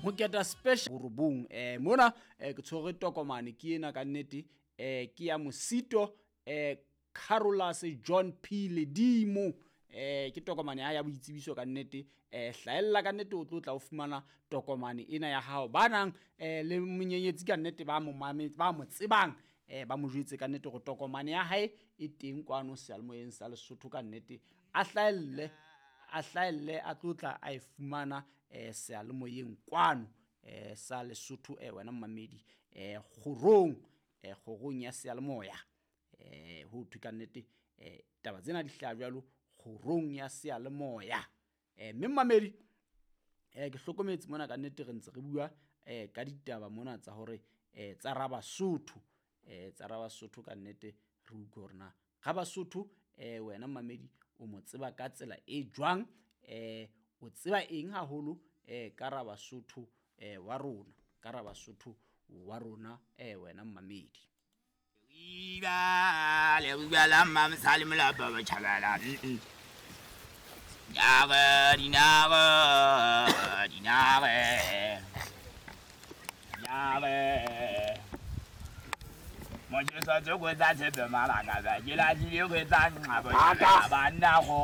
Moketa special borobong. Mona ke tshwere tokomane ke ena ka nnete, ke ya Mosito Carolus John P Ledimo. Ke tokomane ya ya boitsebiso ka nnete. Hlahella ka nnete, o tlo tla o fumana tokomane ena ya hao. Ba nang le monyenyetsi ka nnete, ba mo ba mo tsebang, ba mo jwetse ka nnete hore tokomane ya hae e teng kwano seyalemoyeng sa Lesotho ka nnete. A hlahelle, a hlahelle, a tlo tla a e fumana seyalemoyeng kwano sa Lesotho. Wena mmamedi, kgorong, kgorong ya seyalemoya, ho thwe ka nnete taba tsena di hlaha jwalo kgorong ya seyalemoya. Mme mmamedi, ke hlokometse mona ka nnete re ntse re bua ka ditaba mona tsa hore tsa Rabasotho, tsa Rabasotho ka nnete. Re utlwe hore na Rabasotho, wena mmamedi, o mo tseba ka tsela e jwang, o tseba eng haholo ka Rabasotho wa rona, ka Rabasotho wa rona, wena mmamedi. Leriba la Mmamosadi Molapo Botjhabela. Dinare, dinare, dinare, dinare. Motjheso tsoko tsa tshepe malaka ba ke lahlile kgwetsa nqa botjhabela banna go.